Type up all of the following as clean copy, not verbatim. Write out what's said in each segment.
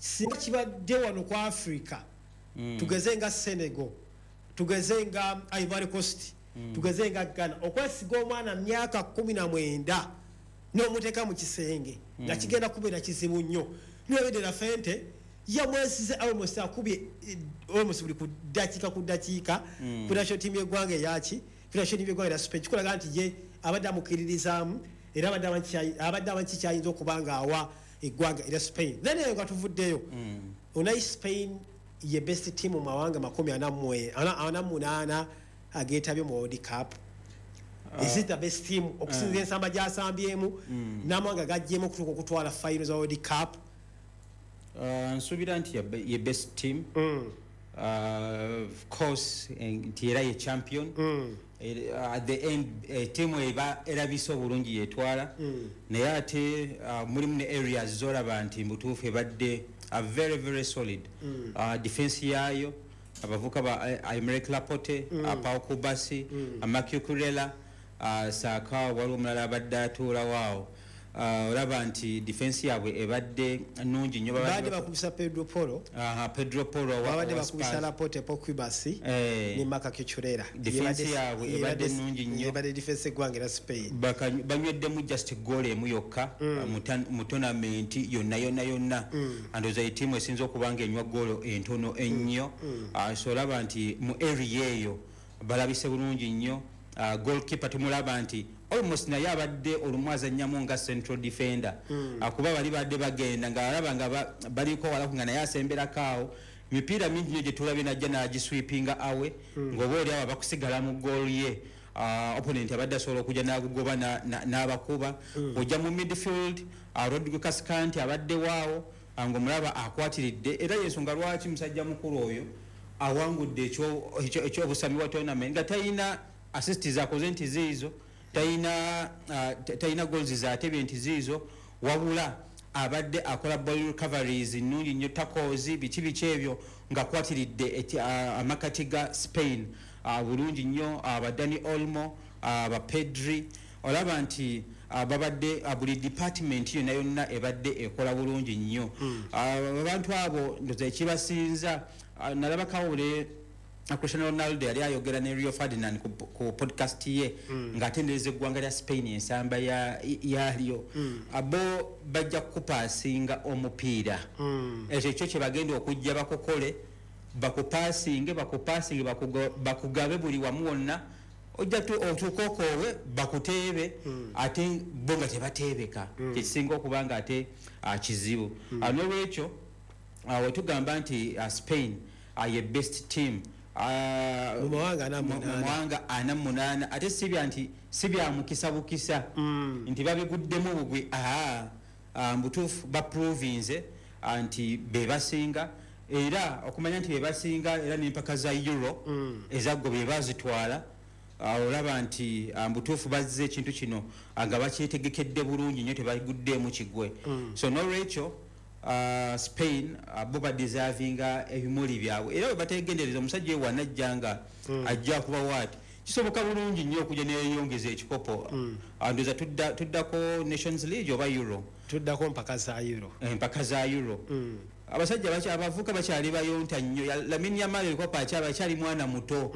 Singa kibadde wano ku Africa, tugeze nga Senegal, tugeze nga Ivory Coast, tugeze nga Ghana, okwesiga omwana myaka 19 n'omuteeka mu kisenge nga kigenda kubeera kizibu nnyo. Naye De La Fuente yamwesize, almost akubye almost buli ku dakiika ku dakiika ku national team y'eggwanga eyaki, ku national team y'eggwanga erya Spain. Kikulaga nti ye abadde amukiririzaamu era abadde amanyi kikyayinza okuba nga awa eggwanga erya Spain. Then eyo nga tuvuddeyo, onayi Spain ye best team mu mawanga 48 ageetabye mu World Cup? Is it the best team okusinzira ensamba gyasambyemu n'amawanga gajjeemu okutuuka okutwala final za World Cup? Nsuubira nti ye best team. Of course, nti era ye champion. At the end, tiimu eba erabise obulungi yetwala, naye ate mulimu ne areas zolaba nti mutuufu ebadde a very very solid. Defense yaayo, abavuka ba Aymeric Laporte, Pau Cubarsi, Marc Cucurella, saaka waliwo omulala abadde atuulawo awo. Olaba nti defense yaabwe ebadde nungi nnyo. Babadde bakubisa Pedro Poro. Aha, Pedro Poro babadde wa bakubisa Spurs. Laporte, Pau Cubarsi ne Marc Cucurella. Defense yaabwe ebadde nnungi nnyo. Ebadde defense eggwanga era Spain. Banyweddemu just goal emu yokka mu tournament yonna yonna yonna. Andowooza etiimu esinza okuba nga enywa goolo entono ennyo. So olaba nti mu area eyo balabise bulungi nnyo. Goalkeeper tumulaba nti almost naye abadde olumu azannyamu nga central defender. Kuba bali badde bagenda nga alaba nga baliko walaku nga naye asemberako awo. Mipiira mingi nnyo gye tulabye najja n'agisweepinga awe ng'oba oli awo bakusigala mu goal ye. Opponent abadde asobola okujja n'agugoba n'abakuba. Ojja mu midfield, Rodrigo Cascante abadde waawo, ng'omulaba akwatiridde, era yensonga lwaki musajja mukulu oyo awangudde ekyobusami bwa tournament nga talina assist zakoze nti ziizo, talina goals zatebye nti ziizo, wabula abadde akola ball recoveries nnungi nnyo, tackles, biki biki ebyo, ng'akwatiridde amakati ga Spain bulungi nnyo. Aba Dani Olmo, aba Pedri, olaba nti babadde buli department yonna yonna ebadde ekola bulungi nnyo. Abantu abo ndoza ekibasinza, nalaba kawule Cristiano Ronaldo yali ayogera ne Rio Ferdinand ku podcast ye ng'atendereza eggwanga lya Spain, ensamba yalyo. Abo bajja kukupaasinga omupiira. Ekyo kyo kye bagenda okujja bakukole, bakupaasinge, bakupaasinge, bakugabe buli wamu wonna, ojja otuuke okoowe bakuteebe, ate bo nga tebateebeka, kyekisinga okuba nga ate kizibu. N'olwekyo wetugamba nti Spain ye best team mu mawanga ana mu munaana. Mawanga 48, ate sibya nti si bya mukisa bukisa nti babiguddemu bugwi. Aa, mbutuufu baprovinze nti be basinga, era okumanya nti be basinga, era n'empaka za Euro ezaggo be bazitwala. Olaba nti mbutuufu bazze ekintu kino nga bakyetegekedde bulungi nnyo, tebaguddeemu kigwe. So nolwekyo Spain bo badeservinga ebimuli byabwe, era bwe bategendereza omusajja oyo wanajja nga ajja kuba waati, kisoboka bulungi nnyo okujja neyongeza ekikopo. Ndowooza tuddako Nations League oba Euro. Tuddako mpaka za Euro. Empaka za Euro. Abasajja abavuka bakyali bayonta nnyo. Lamine Yamal ebikopo akyali mwana muto.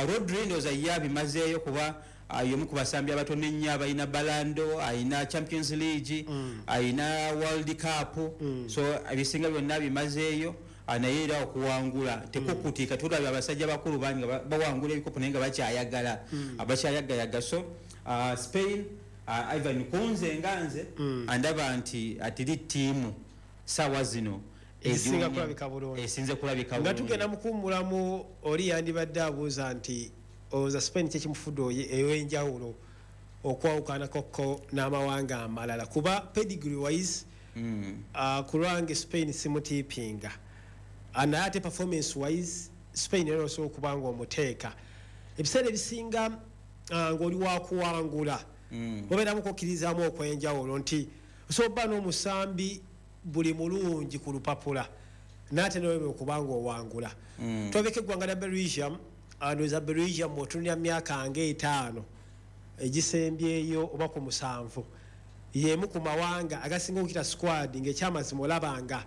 Rodri ndowooza ye abimazeeyo kuba y'omu ku basambi abatono ennyo abalina Ballon d'Or, ayina Champions League, ayina World Cup, so ebisinga byonna abimazeeyo. Naye era okuwangula tekukutika. Tulabye abasajja bakulu bangi nga bawangula ebikopo naye nga bakyayagala, bakyayagayaga. So Spain, Ivan, kunze nga nze andaba nti atiri ttiimu saawa zino esinga egiwumya kulabika bulungi. Esinze kulabika nga bulungi. tugenda mukuwummulamu, oli yandibadde abuuza nti olowooza Spain kyekimufudde ew'enjawulo okwawukanakoko n'amawanga amalala? Kuba pedigree wise, ku lwange Spain simutiipinga. Naye ate performance wise, Spain era osobola okuba nga omuteeka ebiseera ebisinga ng'oli wakuwangula. Obeeramu kokkirizaamu okwenjawulo nti osobola okuba n'omusambi buli mulungi ku lupapula, naate noleme okuba nga owangula. Twabeko eggwanga lya Belgium. Ndowooza Belgium bw'otunulira myaka nga 5 egisembyeyo oba ku 7, yemu ku mawanga agasinga okukita squad ng'ekyamazima olaba nga